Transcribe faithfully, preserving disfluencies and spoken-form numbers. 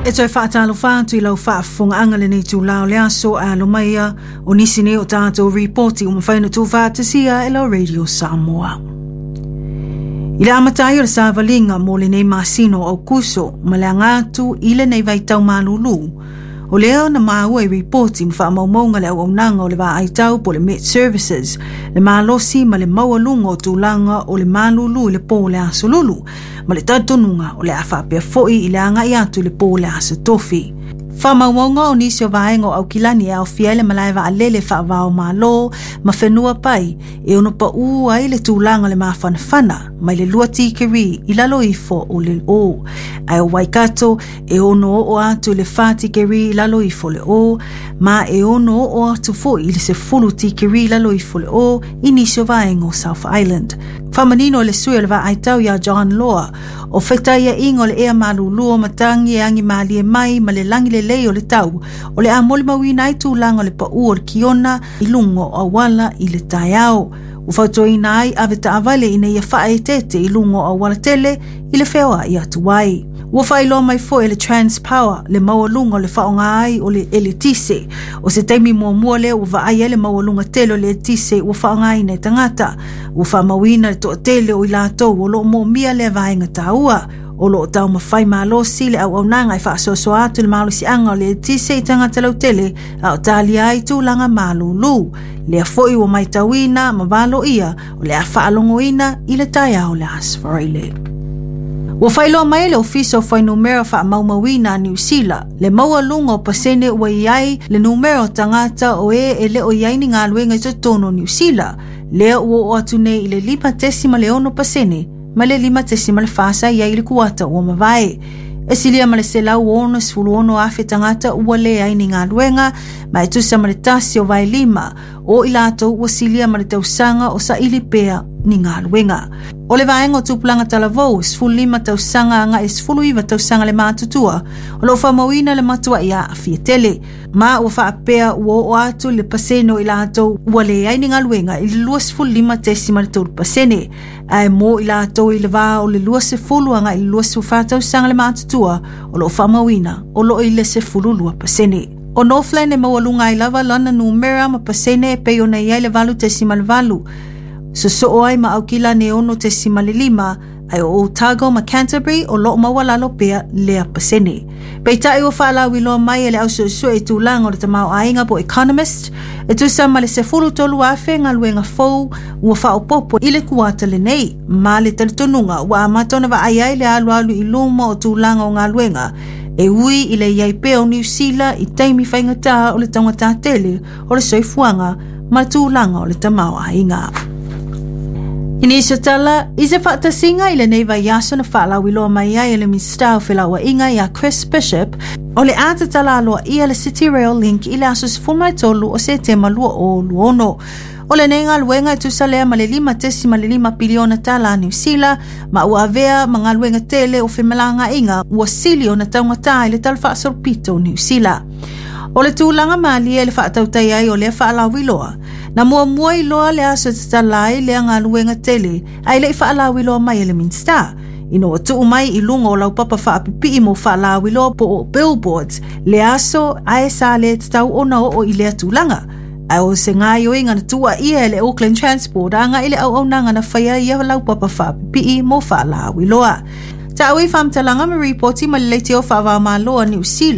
E toe faatalofa atu i lau faafofogaaga lenei itulā o le aso e alo mai ia o nisi nei o tatou ripoti ua mafai ona tuufaatasia e lau Radio Samoa. I le amata ai o le savaliga mo lenei masina o Aukuso ma le aga atu i lenei vaitau malūlū, o lea na maua i ripoti ma faamaumauga le auaunaga o le vaai tau po le Met Services, le malosi ma le maualuga o tulaga o le malūlū i le pō o le Aso Lulu, ma le talitonuga o le a faapea foi i le agai atu i le pō o le Aso Tofi. Faamaumauga o nisi o vaega o Aukilani e aofia ai le malae vaalele faava o Malo ma fanua pai e ono paū ai le tulaga o le mafanafana mai le lua tikeri i lalo ifo o le o. Ae o Waikato e ono oo atu i le fa tikeri i lalo ifo le o, ma e ono oo atu foi i le sefulu tikeri i lalo ifo le o i nisi o vaega o South Island. Faamanino e le sui o le vaai tau ia John Law, o fetaiaiga o le ea malūlū o matagi e agi malie mai ma le lagi lelei o le tau, o le a molimauina ai tulaga o le paū o le kiona i luga o auala i le taeao. Ua fautuaina ai ave taavale ina ia faaeteete i luga o auala tele i le feoai atu ai. Ua faailoa mai foi e le Transpower le maualuga o le faaaoga ai o le eletise. O se taimi muamua lea ua vaai ai le maualuga tele o le eletise ua faaaogaina e tagata. Ua faamauina le toatele o i latou o lo o moomia lea vaega taua. O lo o taumafai malosi le auaunaga e faasoasoa atu le malosiaga o le eletise i tagata lautele a o talia ai tulaga malūlū. Lea foi ua matauina ma valoia o le a faalogoina i le taeao o le Aso Faraile. Ua faailoa mai le Ofisa o Fuainumera Faamaumauina a Niu Sila le maualuga o pasene ua i ai le numera o tagata o e e le o i ai ni galuega i totonu o Niu Sila, lea ua oo atu nei i le lima tesima le ono pasene ma le lima tesima le fa sa i ai i le kuata ua mavae. E silia ma le selau ono sefulu ono afe tagata ua leai ni galuega, ma e tusa ma le tasi o vaelima o i latou ua silia ma le tausaga o saili pea ni galuega. O le vaega o tupulaga talavou, sefulu lima tausaga agai sefulu iva tausaga le matutua, o lo o faamauina le matuai aafia tele, ma ua faapea ua oo atu le pasene o i latou ua leai ni galuega i le luasefulu lima tesima le tolu pasene, ae mo i latou i le va o le luasefulu agai i le luasefulu fa tausaga le matutua, o lo o faamauina o lo o i le sefulu lua pasene. O Northland e maualuga ai lava lana numera ma pasene e pei ona i ai le valu tesima le valu, sosoo ai ma Aukilani e ono tesima le lima, ae o Otago ma Canterbury o lo o maualalo pea lea pasene. Peitai ua faalauiloa mai e le ausuesue i tulaga o le tamaoaiga po Economist, e tusa ma le sefulu tolu afe galuega fou ua faaopoopo i le kuata lenei, ma le talitonuga ua amata ona vaai ai le alualu i luma o tulaga o galuega, e ui i le iai pea o Niu Sila i taimi faigata o le taugata tele o le soifuaga ma le tulaga o le tamaoaiga. I nisi o tala, i se faatasiga i lenei vaiaso na faalauiloa mai ai e le Minisita o Felauaiga ia Chris Bishop, o le a tatala aloaia le City Rail Link i le aso sefulu tolu o Setema lua o lua ono. O lenei galuega e tusa lea ma le lima tesima le lima piliona tala a Niu Sila, ma ua avea ma galuega tele o femalagaaiga ua sili ona taugata i le tala faasolopito o Niu Sila. O le tulaga malie i le faatautai ai o lea faalauiloa, na muamua iloa le aso e tatala ai lea galuega tele ae le i faalauiloa mai e le Minisita, ina ua tuu mai i luga o laupapa faapipii mo faalauiloa po o billboards le aso ae sa le tatau ona oo i lea tulaga. Ae o se gaoioiga na tuuaia e le Auckland Transport agai i le auaunaga na faia ia laupapa faapipii mo faalauiloa. Taui faamatalaga ma ripoti ma le leitio faava o Malo a Niu Sila.